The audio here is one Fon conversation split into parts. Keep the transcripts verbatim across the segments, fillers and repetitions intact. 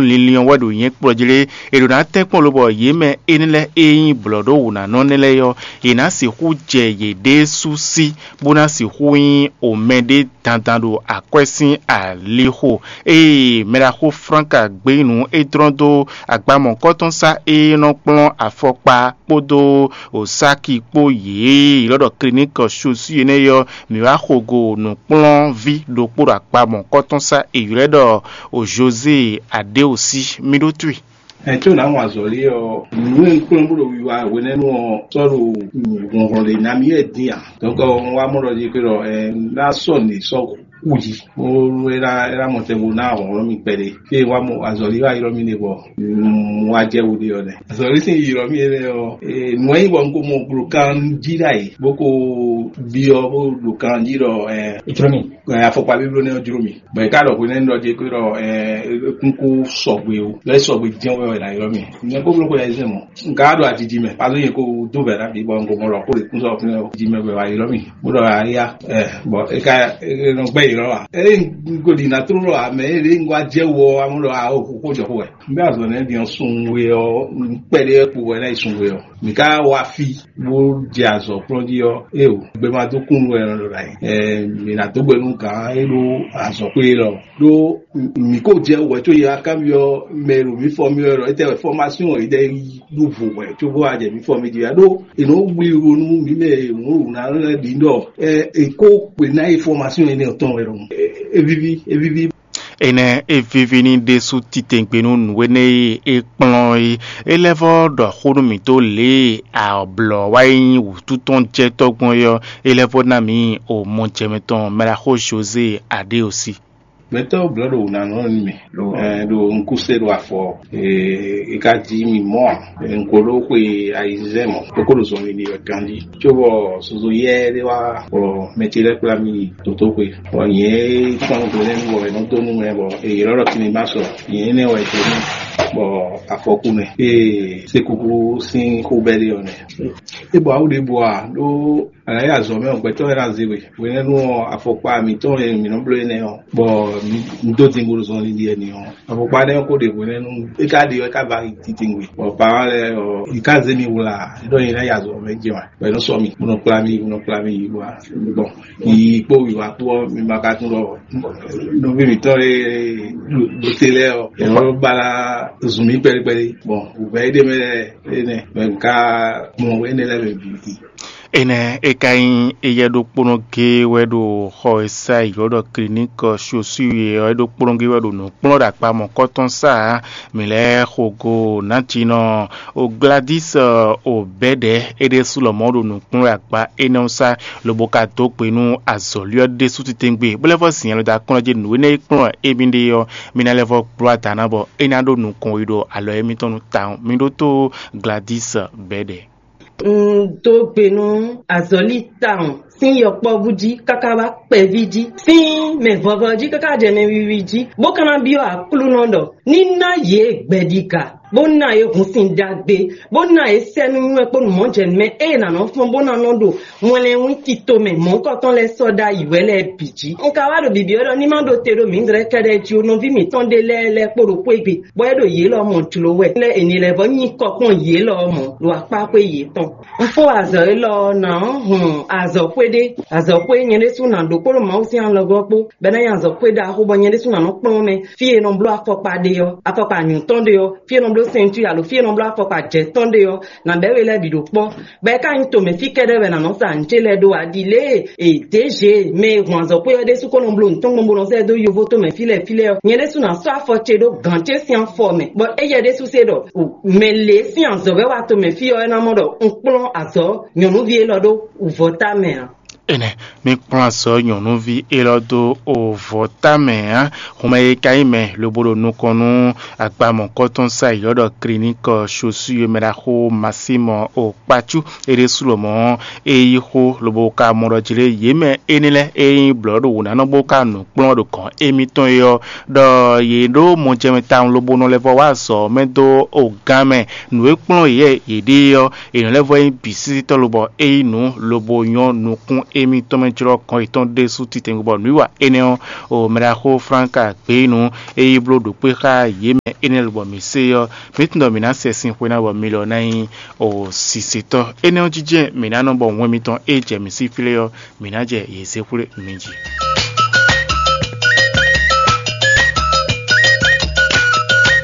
Linlin ɔ́ wɛ ɖo nyɛ kplɔ́ jí lé, è ɖǒ ná tɛ́nkpɔ́n lobɔ yě mɛ énɛ́ lɛ́ɛ e nyí blɔ̌ɖówǔnánɔ nɛ́ lɛ́ɛ ɔ́, yě ná sixú jɛ yěɖée sú sí, bó ná sixú nyí omɛ ɖé dandan ɖo akwɛ́ sín alixo. Ée mɛɖaxó Franka gbé nǔ é dlɔ́n dó agbamɔ̌kɔ́tɔ́nsá e nɔ kplɔ́n afɔkpa kpódó osaki kpó yě e ylɔ́ ɖɔ kliník chaussure énɛ́ ɔ́, mǐ wá xo go nǔkplɔ́nví ɖokpó ɖo agbamɔ̌kɔ́tɔ́nsá e ylɔ́ ɖɔ José Adéosi. Mì ɖó twi. Ɛ tó nǎ wɔn azɔ̌lí ɔ́, nǔ e un kplɔ́n bó ɖo wiwa hwenɛ́nu ɔ́ sɔ́ ɖo hlɔ̌nhlɔ́n ɖě ná mì wɛ dín ǎ. Dɔ̌nkɔ un wá mɔ ɖɔ jí xwé ɖɔ ɛ ná sɔ́ nǔ e sɔ́ kú jí. Bó é ná é ná mɔ tɛn bó ná hlɔ̌nhlɔ́n mì kpɛɖé. Fí e wá mɔ azɔ̌lí wá ylɔ́ mì ɖe bɔ un wá jɛ wú ɖe ɔ́ nɛ́. Azɔ̌lí sín ylɔ́ mì énɛ́ ɔ́, nǔ e nyí bɔ un ko mɔ glo kan jí ɖ'ayǐ bó ko byɔ́ bó ɖo kan jí ɖɔ ɛ Ìtró mi. Ɛ, afɔkpa bíbló nɛ́ ɔ́ jló mì. Bɔ è ká ɖɔ hwenɛ́nu ɖɔ jí xwé ɖɔ ɛ kúnkú sɔgbe o, lɔ é sɔgbe jɛ́n wɛ wɛ ná ylɔ́ mì. Nyɛ kó bló xwe yɛzɛ́ mɔ̌. Un ka ɖo ajiji mɛ, pazó nyɛ kó dó vɛ̌ ɖ'ayǐ bɔ un ko mɔ ɖɔ xó ɖě kún sɔ́ fínɛ́ o. Jiji mɛ wɛ wá ylɔ́ mì. Bó ɖɔ ayá ɛ bɔ é ka é nɔ gbɛ́ ylɔ́ ǎ. Ée un ko ɖi nǎ tló ɖɔ ǎ, mɛ e ɖě un wá jɛ wɔ ɔ́, amú ɖɔ a ó xó jɔ xó wɛ. Un bɛ́ azɔ̌ nɛ́ din ɔ́ sun we ɔ́, un kpɛɖé kpo wɛ ná yi sun we ɔ́. Mǐ ka wá fí bó jɛ azɔ̌ kplɔ́n jí ɔ́, éeǒ, gbɛmadókúnnu wɛ è nɔ ɖo ɖ'ayǐ. Ɛ, mǐ ná dó gbɛ nú gǎn e ɖó azɔ̌xwé élɔ́. Ɖó mǐ ko jɛ wɛ có yě wá kanbyɔ́ mɛ e ɖo mǐ fɔ mì wɛ ɖɔ étɛ́ wɛ fɔ́másyɔn e ɖɛ yi ɖó vo wɛ cóbó wá jɛ mǐ fɔ mì jí wɛ. Ɖó è nɔ wlí wo nú mǐ mɛ e mǔ wǔ ná lɛ́ ɖǐ ɖɔ ɛ è kó kpe ná yi fɔ́másyɔn énɛ́ ɔ́ tɔn wɛ ɖɔhun. É víví, é víví. Énɛ́ e víví ní ɖésú titewungbe nú nǔ énɛ́ e é kplɔ́n é. É lɛ́ vɔ́ ɖɔ xó nú mǐ dó lě e ablɔ̌ wá yi nyí wǔtu tɔn jɛ tɔ́gbɔn é ɔ́, é lɛ́ vɔ́ ná mǐ omɔjɛmɛ tɔn mɛɖaxó José Adéosi. Gbɛtɔ́ blɔ̌ ɖo wǔnánɔ nú mì, ɛ, ɖo un kú se ɖo afɔ, e, e ka ji mì mɔ̌ ǎ. Un ko ɖó xwe ayizɛ́n mɔ̌, bó ko ɖo zɔnlin ɖi wɛ ganjí. Cóbɔ zozo yɛ́ ɖé wá bɔ mɛ ce lɛ́ kplá mì yi dǒdóxwe. Bɔ nyɛ e kpɔ́n gbe lɛ́ɛ bɔ è nɔ dó nú mɛ bɔ è ylɔ́ ɖɔ Tinimási ɔ́, nyɛ énɛ́ wɛ è dó nú bɔ afɔkú mɛ. Ée Sekúkú sín xó bɛ́ ɖe ɔ́ nɛ́. É bɔ awu ɖěbǔ ǎ, ɖó a nǎ yi azɔ̌ mɛ ɔ́, gbɛtɔ́ lɛ́ɛ ná zé we. Hwenɛ́nu ɔ́, afɔkpa mǐtɔn e mǐ nɔ bló énɛ́ ɔ́, bɔ mǐ dó din bo ɖo zɔnlin ɖi wɛ n'i ɔ́, afɔkpa énɛ́ ɔ́ ko ɖe hwenɛ́nu, é ka ɖe ɔ́, é ka va yi titewungbe. Bɔ parents lɛ́ɛ ɔ́, yě ká zé mì wlá, é ɖɔ nyɛ ná yi azɔ̌ mɛ jɛ wá. Bɔ é nɔ sɔ́ mì, bó nɔ kplá mì, bó nɔ kplá mì yi wá. Bon, yiyi kpó wǐwá kpó ɔ́, mi ma ka tunwun ɖɔ nɔví mǐtɔn e ɖo te lɛ́ɛ ɔ́, è nɔ ba ná zun mì kpɛɖékpɛɖé. Bon, wǔvɛ́ é ɖe mɛ lɛ́ɛ énɛ́, mɛ un ka mɔ énɛ́ lɛ́ɛ mɛ bǐ. Énɛ́ é ka nyí éyɛ́ ɖokpónɔ géé wɛ ɖo xɔ e sá yi ylɔ́ ɖɔ kliník chaussure ɔ́, é ɖokpónɔ géé wɛ ɖo nǔ kplɔ́n ɖo akpa mɔ̌kɔ́tɔn sá ǎ. Mǐ lɛ́ xo go nǎjinɔ o Gladys o bɛ́ɖɛ̌ é ɖésú lɔmɔ̌ ɖo nǔ kplɔ́n ɖo akpa énɛ́ ɔ́ sá, lobo ka dó gbe nú azɔ̌lí ɔ́ ɖésú titewungbe, bó lɛ́ vɔ́ zin alɔ dó akɔ́n jí nǔ énɛ́ e kplɔ́n émí ɖe ɔ́, mí ná lɛ́ vɔ́ kplɔ́ ada ná bɔ é ná ɖó nukɔn yi ɖo alɔ émítɔn nu tawun. Mi ɖótó Gladys bɛ́ɖɛ̌. Un dó gbe nú azɔ̌lí tawun sín yɔkpɔ́vú jí káká wá kpɛví jí, sín mɛ vɔvɔ jí káká jɛ mɛ wiwi jí, bó ka ná byɔ́ Aklúnɔ ɖɔ ní ná yě gbɛɖiga, bó ná yě hun sin ɖagbe, bó ná yě sɛ́ nú nywɛ́ kpó nǔmɔjɛnúmɛ e è nǎ nɔ fɔ́n bó ná nɔ ɖo mɔlɛnwín tito mɛ mɔ̌hunkɔtɔn lɛ́ɛ sɔ́ ɖ'ayǐ wɛ lɛ́ɛ bǐ jí. Un ka wá ɖo bǐbí ɔ́ ɖɔ ní má ɖo te ɖo mǐdɛɛ kɛ́ɖɛ́ jí ó, nɔví mǐtɔn ɖé lɛ́ɛ lɛ́ kpo ɖo xwé gbe, bɔ é ɖo yě lɔ mɔ jlǒ wɛ. Lɛ́ è nǐ lɛ́ vɔ́ nyi kɔ kpɔ́n yě lɔ mɔ̌ ɖo akpá xwé yětɔn. Un fó azɔ̌ élɔ́ ɔ́, nǎ hun azɔ̌xwé ɖé, azɔ̌xwé nyɛ ɖésú ná ɖó kpódó Mawu sín alɔgɔ́ kpó, bɔ é ná nyí azɔ̌xwé ɖaxó, bɔ nyɛ ɖésú ná nɔ kplɔ́n mɛ fí e è nɔ bló afɔkpa ɖe ɔ́. Afɔkpa nyǔtɔn ɖe ɔ́, fí e è nɔ bló sɛntúri alo fí e è nɔ bló afɔkpa jɛ̌tɔn ɖe ɔ́, nǎ bɛ́ we lɛ́ɛ bǐ ɖo kpɔ́. Bɔ é ka nyí tomɛ fí kɛ́ɖɛ́ wɛ nǎ nɔ sa nǔ ce lɛ́ɛ ɖó ǎ, ɖi lě e è dě zě mɛ e hun azɔ̌xwé ɔ́ ɖésú ko nɔ bló nǔ tɔn gbɔn bó nɔ zɛ dó yovo tomɛ fí lɛ́ɛ fí lɛ́ɛ ɔ́. Nyɛ ɖésú ná sɔ́ afɔ ce ɖó gǎn ce sín afɔ mɛ, bɔ éyɛ́ ɖésú se ɖɔ mɛ lě sín azɔ̌ wɛ wá tomɛ fí ɔ́, é ná mɔ ɖɔ un kplɔ́n azɔ̌ nyɔ̌nuví élɔ́ ɖó wǔvɔ́ ta mɛ ǎ. Énɛ́, mi kplɔ́n azɔ̌ nyɔ̌nuví élɔ́ dó ovɔ́ ta mɛ ǎ. Xomɛ e ka nyí mɛ lobo ɖo nukɔn nú agbamɔ̌kɔ́tɔn sa yi ɔ́ ɖɔ kliník chaussure mɛ ɖaxó Masímɔ Okpacú é ɖésú lɔmɔ̌ é yí xó lobo ka mɔ ɖɔ jí lé yě mɛ énɛ́ lɛ́ɛ é nyí blɔ̌ɖo wǔnánɔ bó ka nǔ kplɔ́n ɖo gɔ̌n émítɔn é ɔ́, ɖɔ yě ɖó mɔjɛmɛ tawun lobo nɔ lɛ́ vɔ wá azɔ̌ mɛ dó ogán mɛ. Nǔ e kplɔ́n yě yěɖée ɔ́, è nɔ lɛ́ vɔ nyí bǐsísítɔ́ lobɔ é nyí nǔ lobo nyɔ́ nukún émítɔn mɛ jlɔ́ kɔn yětɔn ɖésú titewungbe bɔ nǔwiwa énɛ́ ɔ́, o mɛɖaxó Franka Gbeyínu e yi bló ɖo kpé xá yě mɛ énɛ́ lobɔ mǐ se ɔ́, mǐ tunwun ɖɔ mǐ ná sɛ sin xwe ná bɔ mi lɔ ná nyí o sisetɔ́. Énɛ́ ɔ́ jínjɛ́n mǐ ná nɔ bɔ wɛn mitɔn e jɛ mǐ sí flé ɔ́, mǐ ná jɛ yě zé xwlé mi jí.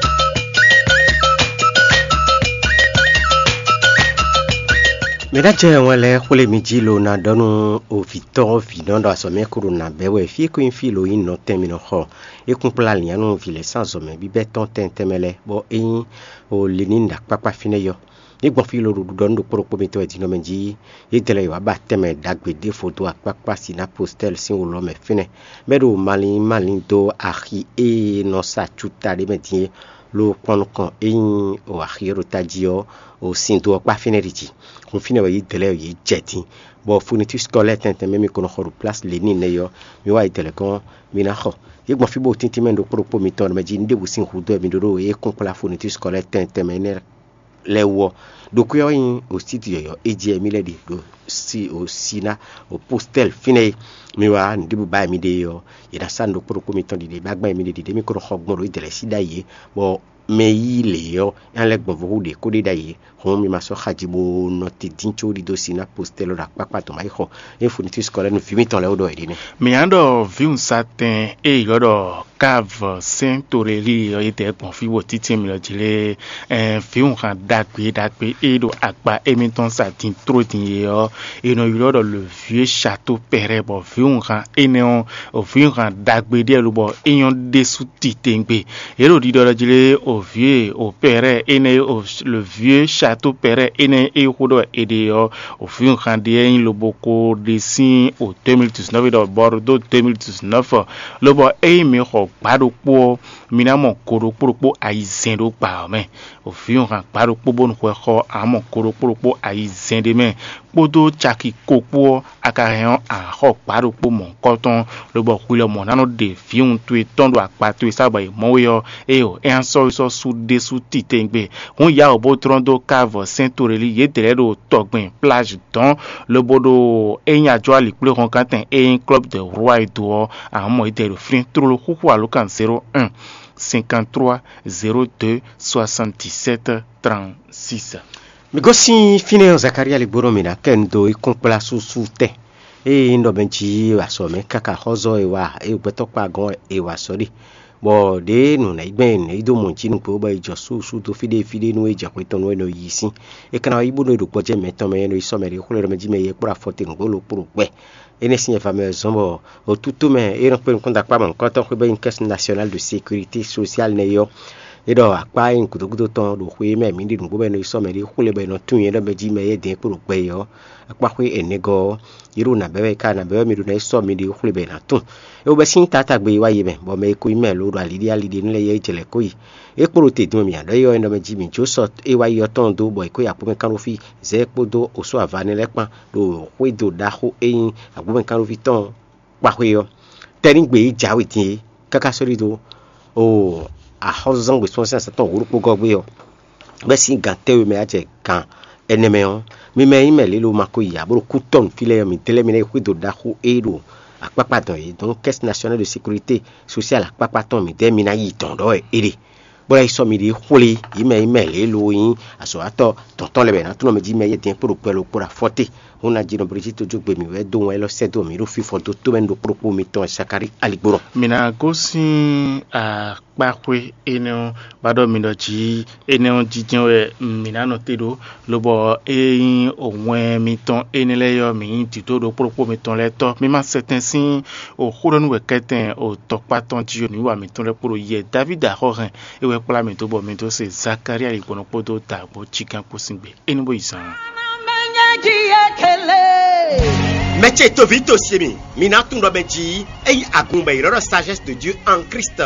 Mǐ ná jɛ wɛn lɛ́ɛ xwlé mi jí lo ná ɖɔ nú ovǐtɔ́ vǐnɔ ɖɔ azɔ̌ mɛ kúɖo nǎ bɛ́ wɛ fí e ko nyí fí lo nyí nɔtɛn mì nɔ xɔ. É kún kplá lǐnnyánú vǐ lɛ́ɛ sín azɔ̌ mɛ bíbɛ́ tɔn tɛntɛn mɛ lɛ́ɛ, bɔ é nyí o Lenini ɖo akpákpá fínɛ́ yɔ. Yě gbɔn fí lo ɖo ɖiɖɔ nú ɖokpó ɖokpó mitɔn wɛ din ɔ́ mɛ jí. Yě dlɛ́ yě wá ba tɛnmɛ ɖagbe ɖěvo dó akpákpá Sinapositɛ́li sín wǒ lɔ mɛ fínɛ́, bɔ é ɖo malín malín dó axi e nɔ sa cuta ɖé mɛ din é, lo kpɔ́n nukɔn é nyí o axi e ɖo tají ɔ́, o sin do ɔ́ kpá fínɛ́ ɖi jí. Hun fínɛ́ wɛ yě dlɛ́ yě jɛ din, bɔ funitíi skɔlɛ́ tɛntɛn mɛ mi ko nɔ xɔ ɖo plásí Lenini nɛ́ ɔ́, mi wá yě dlɛ́ gɔ́n, mi ná xɔ. Yě gbɔn fí bó tíntín mɛ ɖokpó ɖokpó mitɔn mɛ jí nú ɖěbǔ sín hudó wɛ mi ɖó ɖó é kún kplá funitíi skɔlɛ́ tɛntɛn mɛ énɛ́ lɛ́ɛ wú ɔ́, ɖokpé ɔ́ nyí osíti yɔ̌yɔ́ e jí wɛ mì lɛ́ ɖe ɖo si o si ná o postɛ́l fínɛ́ e mi wá nǔɖiɖi ba e mi ɖe é ɔ́, yě ná sá nǔ ɖokpó ɖokpó mitɔn ɖiɖe bá gbɛn mi ɖe ɖiɖe mi ko nɔ xɔ gbɔn ɖo idɛlɛsí ɖ'ayǐ é, bɔ mɛ yí lě ɔ́, é ná lɛ́ gbɔn vo hú ɖě kó ɖe ɖ'ayǐ é. Hǔn mi ma sɔ́ xaji bó nɔ te dín có ɖidó si ná postɛ́l ɔ́ ɖo akpákpá tɔn má yi xɔ. Ée funitíi skɔlɛ́nu vǐ mitɔn lɛ́ɛ wú ɖɔ è ɖe nɛ́. Mǐ ná ɖɔ vǐwunzatɛn e ylɔ́ ɖɔ Káv Sɛ́n Torelíi ɔ́ yi dɛ̌ gbɔn fí bɔ títí mǐ lɔ jí lé, vǐwunhan ɖagbe ɖagbe e ɖo akpa émítɔn sa din tló din é ɔ́, è nɔ ylɔ́ ɖɔ le vieux château pɛrɛ, bɔ vǐwunhan énɛ́ ɔ́, vǐwunhan ɖagbe ɖíe lobɔ é nyɔ́ ɖésú titewungbe. Yě ɖo ɖiɖɔ ɖɔ jí lé, o vieux o pɛrɛ énɛ́, le vieux château pɛrɛ énɛ́ e xó ɖɔ è ɖe ɔ́, o vǐwunhan ɖé e nyí lobo ko ɖe sín o deux mille dix-neuf ɖɔ bɔ ɖo dó deux mille dix-neuf, lobɔ ényí mi xɔ gbǎ ɖokpó ɔ́, mi ná mɔ go ɖokpó ɖokpó ayizɛ́n ɖó gbǎ ɔ́ mɛ. Vǐwunhan gbǎ ɖokpó bónú hwɛ xɔ amɔ go ɖokpó ɖokpó ayizɛ́n ɖé mɛ, kpódó caki ko kpó ɔ́, a ka hɛn ɔ́, a nǎ xɔ gbǎ ɖokpó mɔ̌hunkɔtɔn, lobɔ hwi lɔ mɔ̌ ná nɔ ɖe vǐwun towe tɔn ɖo akpa towe sá bɔ è mɔ we ɔ́, éeǒ, é ná sɔ́ we sɔ́ sú ɖésú titewungbe. Hǔn yǎ wǒ bó tlɔ́n dó káa vɔ sɛ́n to ɖé lí yědɛɛ lɛ́ɛ ɖo tɔgbɛn plázh dɔ̌n, lobo ɖo é nyí ajɔ́ alikpléhɔnkántɛn e nyí Club de Roi e do ɔ́, a nǎ mɔ yědɛɛ ɖo flín tlóló xúxú alǒkan zéro un cinquante-trois zéro deux soixante-dix-sept trente-six. Mi gosín fínɛ́ ɔ́, Zakalía lí gbónɔ mǐ ná kɛ nu dó ikɔ́nkplá súsú tɛn. Ée nyí ɖɔ mɛ jí azɔ̌ mɛ káká xɔ́zɔ́ e wa é gbɛtɔ́ kpa gɔ́n e wa sɔ́ ɖe, bɔ ɖěe nǔ ná yi gbɛn nǔ yi dó mɔ jí nǔgbó bɔ è jɔ súsú dó fí ɖé fí ɖé nú é jɛ xwe tɔn nú é nɔ yi sín. É ka ná yi bónú é ɖo gbɔjɛ́ mɛtɔn mɛ é nɔ yi sɔ́ mɛ ɖě xwlé ɖɔ mɛ jí mɛ yɛ kplá afɔ te nǔgbó lo kpló gbɛ. Énɛ́ sín nyɛva mɛ wɛ zɔ́n bɔ otútú mɛ e nɔ kpé nukúnɖakpá mɔ̌hunkɔtɔn xwé bɔ é nyí Caisse Nationale de Sécurité Sociale nɛ́ é ɔ́, é ɖɔ akpá e nyí gǔdo gúdo tɔn ɖo xwe e mɛ mǐ ɖi nǔgbó bɔ è nɔ yi sɔ́ mɛ ɖě xwlé bɔ è nɔ tunwun nyɛ ɖɔ mɛ jí mɛ e dɛ̌n kpo ɖo gbɛ é ɔ́, akpá xwé ɛnɛgɔ́ ɔ́, yě ɖo nǎ bɛ́ wɛ ká nǎ bɛ́ wɛ mi ɖo ná yi sɔ́ mi ɖě xwlé bɔ è nǎ tunwun. É wú bɛ́ sín taátagbe e wá yi mɛ, bɔ mɛ e ko nyí mɛ lo ɖo aliɖí aliɖí nú lɛ́ɛ yɛ é jɛ lɛ̌ kó yi. É kpo ɖo te din mɛ mǐ ná ɖɔ é ɔ́, é nɔ mɛ jí mǐ jó sɔ e wá yi ɔ́ tɔn dó bɔ è kó yi aklúmɛ kánɖófí zɛ kpódó osó ava nɛ́ lɛ́ɛ kpán ɖo xwédo ɖaxó e nyí agbómɛ kánɖófí tɔn kpaxwe ɔ́. Tɛ́nígbe e jǎwe din é káká sɔ́ ɖi dó o axɔ́zɔ́ngbe sɔ́ sín asatɔ́ wǒ ɖokpó gɔ́ gbé ɔ́, bɛ́ sín gǎn tɛ́nwe mɛ wá jɛ gǎn ɛnɛ mɛ ɔ́, mi mɛ e nyí mɛ lě lo ma ko yi ǎ bó ɖo kú tɔ́ nǔ fí lɛ́ɛ ɔ́, midɛɛ lɛ́ɛ mi ná yi xwédo ɖaxó e ɖo akpákpá dɔn é. Donc, Caisse Nationale de Sécurité Sociale akpákpá tɔn midɛɛ mi ná yi dɔn ɖɔ wɛ é ɖe. Bó ná yi sɔ́ mi ɖě xwlé, yě mɛ e nyí mɛ lě lo nyí azɔ̌watɔ́ tɔ̌ntɔ́n lɛ́ɛ bɔ è nǎ tlɔ́n mɛ jí mɛ yɛ́ dɛ̌n kpó ɖo gbɛ lo kpó ɖo afɔ te. Hún ná jí nɔ Brijíti tójógbe mǐ wɛ dó wɛn élɔ́ sɛ́ dó mǐ ɖo fífɔ dó tómɛnu ɖokpó ɖokpó mitɔn Zakalí aligbó nɔ. Mǐ ná gosín akpáxwé énɛ́ ɔ́, bá ɖɔ mi ɖɔ jí énɛ́ ɔ́ jínjɛ́n wɛ mǐ ná nɔ te ɖó, lobɔ é nyí wɛn mitɔn énɛ́ lɛ́ɛ ɔ́, mǐ nyí dǐdó ɖokpó ɖokpó mitɔn lɛ́ɛ tɔ́. Mi ma sɛtɛn sín xó ɖɔ nú wɛ kɛ́tɛn tɔkpá tɔn jí nǔwiwa mitɔn lɛ́ɛ kpó ɖo yɛ Davídi axɔ́ hɛn é wɛ kplá mì dó bɔ mi dó se Zakalía yi gbɔn kpódó dǎgbó cígán kpó sín gbe. É ní bó yi zaan. Mɛ ce toví to se mi, mi ná tunwun ɖɔ mɛ jí é nyí agun bɔ è ylɔ́ ɖɔ sagesse de Dieu en Christ.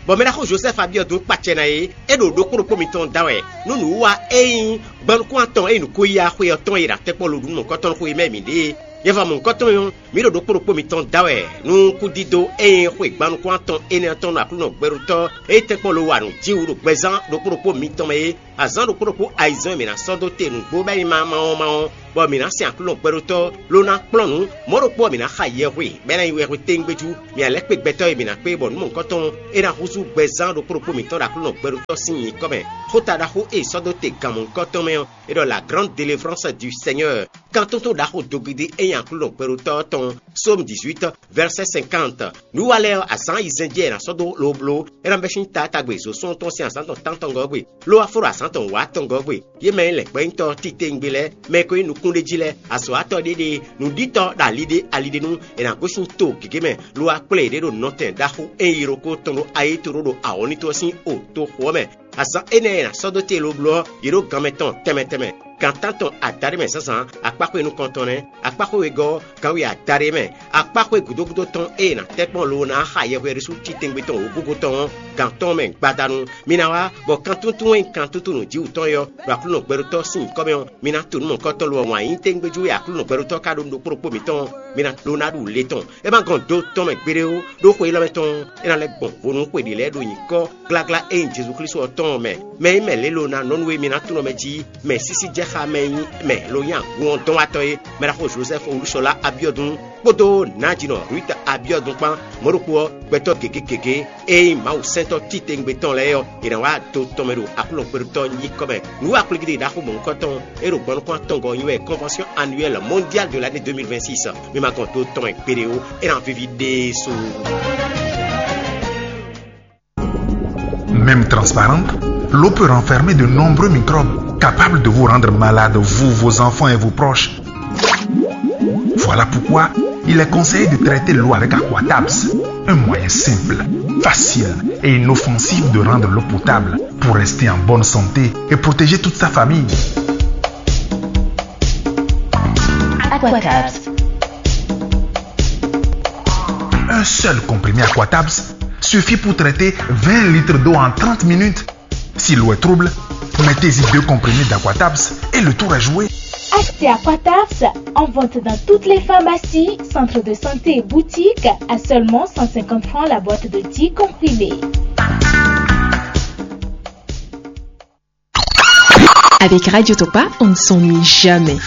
Bɔ mɛ ɖaxó Josɛ́fu Abiɔdu kpacɛ ná é, é ɖo ɖokpó ɖokpó mitɔn da wɛ nú nǔwiwa e nyí gbɔnukún atɔn e nǔ ko yá xwe ɔ́ tɔn e ɖo atɛkpɔ́ lo ɖu nú mɔ̌hunkɔtɔn xwe mɛ mǐ ɖe é. Yɛva mɔ̌hunkɔtɔn ɔ́, Mǐ ɖo ɖokpó ɖokpó mitɔn da wɛ nú kúdídó e nyí xwe gban nukún atɔn énɛ́ ɔ́ tɔn ɖo Aklúnɔ gbɛɖotɔ́ e tɛ́nkpɔ́n lo wa nǔ jí wú ɖo gbɛzán ɖokpó ɖokpó mitɔn mɛ é. Azǎn ɖokpó ɖokpó ayizɛ́n e mǐ ná sɔ́ dó te nǔgbó bɔ é nyí mawɔmawɔ, bɔ mǐ ná sɛn Aklúnɔ gbɛɖotɔ́ ló ná kplɔ́n nǔ. Mɔ̌ ɖokpó ɔ́, mǐ ná xa yɛhwe, bɔ é ná nyí yɛhwe téŋgbéjú. Mǐ ná lɛ́ kpé gbɛtɔ́ e mǐ ná kpé bɔ nǔ mɔ̌hunkɔtɔn é ná húzú gbɛzán ɖokpó ɖokpó mǐtɔn ɖo Aklúnɔ gbɛɖotɔ́ sín nyǐkɔ mɛ. Xóta ɖaxó e è sɔ́ dó te gan mɔ̌hunkɔtɔn mɛ ɔ́, é ɖɔ la grande délivrance du Seigneur. Kan tuntun ɖaxó dogidi e nyi Aklúnɔ gbɛɖotɔ́ ɔ́ tɔn, Psaume dix-huit, verset cinquante. Nǔ wa lɛ́ɛ ɔ́, azǎn ayizɛ́n jɛ è nǎ sɔ́ dó lobló, é ná bɛ́ sín taatagbe zǒsún tɔn sín azǎn tɔn tántɔngɔ́ gbe, ló wá fó ɖo azǎn tɔn wǎtɔngɔ́ gbe. Yě mɛ e lɛ̌ gbɛ́nyítɔ́ titewungbe lɛ́ɛ, mɛ e ko nyí nukúnɖéjí lɛ́ɛ, azɔ̌watɔ́ ɖé ɖe, nǔɖítɔ́ ɖo ali ɖé ali ɖé nu, è nǎ gosín to gěgé mɛ, lo wá kplé yě ɖo nɔtɛn ɖaxó e nyí ɖokó tɔn ɖo ayétoro ɖo awɔ̌nító ɔ́ sín o toxo ɔ́ mɛ. Azǎn énɛ́ e è nǎ sɔ́ dó te lobló ɔ́, yě ɖo gan mɛ tɔn tɛnmɛ tɛnmɛ. Gan tántɔn adaɖé mɛ zǎnzǎn, akpáxwé nukɔntɔn nɛ́, akpáxwé wegɔ́ ɔ́, gan we adaɖé mɛ, akpáxwé gǔdo gúdo tɔn e è nǎ tɛ́ kpɔ́n lobo ná xa yɛhweɖésú titɛngbé tɔn wǒgúgú tɔn ɔ́, gan tɔn mɛ gbadanu. Mi ná wá, bɔ kan túntún e nyí kan túntún nǔjíwǔtɔn é ɔ́, ɖo Aklúnɔ gbɛɖotɔ́ sín nyǐkɔ mɛ ɔ́, mi ná to nǔ mɔ̌hunkɔtɔn lo ɔ́, wǎn yí téŋgbéjú e Aklúnɔ gbɛɖotɔ́ ka ɖó nú ɖokpó ɖokpó mǐtɔn ɔ́, mi ná ɖó ná ɖu le tɔn. É ma gɔn do tɔn mɛ gbeɖé ó, ɖó xwe élɔ́ mɛ tɔn ɔ́, é ná lɛ́ gbɔn vo nú xwe ɖě lɛ́ɛ ɖo nyǐkɔ gláglá e nyí Jezu Klísu ɔ́ tɔn ɔ́ mɛ. Mɛ e nyí mɛ lělo ná nɔ nú e mi ná tunɔ mɛ jí, mɛ sísí jɛ xá mɛ e nyí mɛ lo nyí agun ɔ́ dɔn wá tɔ́ é, mɛ ɖaxó Jozɛ́fu Olúṣɔlá Abiɔdun kpódó nǎjinɔ Ruth Abiɔdun kpán. Mɔ̌ ɖokpó ɔ́, gbɛtɔ́ gěgé gěgé e nyí Mawu sɛntɔ́ titewungbe tɔn lɛ́ɛ ɔ́, è nǎ wá do tɔn mɛ ɖo Aklúnɔ gbɛɖotɔ́ nyíkɔ mɛ. Nǔ wa kplígídí ɖaxó mɔ̌hunkɔtɔn e ɖo gbɔnukún atɔngɔ́ ɔ́ nyi wɛ Convention annuelle mondiale de l'année deux mille vingt-six. Mi ma gɔn do tɔn mɛ gbeɖé ó, é ná víví ɖésú. Même transparente, l'eau peut renfermer de nombreux microbes capables de vous rendre malade, vous, vos enfants et vos proches. Voilà pourquoi il est conseillé de traiter l'eau avec Aquatabs, un moyen simple, facile et inoffensif de rendre l'eau potable pour rester en bonne santé et protéger toute sa famille. Aquatabs. Un seul comprimé Aquatabs suffit pour traiter vingt litres d'eau en trente minutes. Si l'eau est trouble, mettez-y deux comprimés d'Aquatabs et le tour est joué. Achetez Aquatabs en vente dans toutes les pharmacies, centres de santé et boutiques à seulement cent cinquante francs la boîte de dix comprimés. Avec Radio Topa, on ne s'ennuie jamais.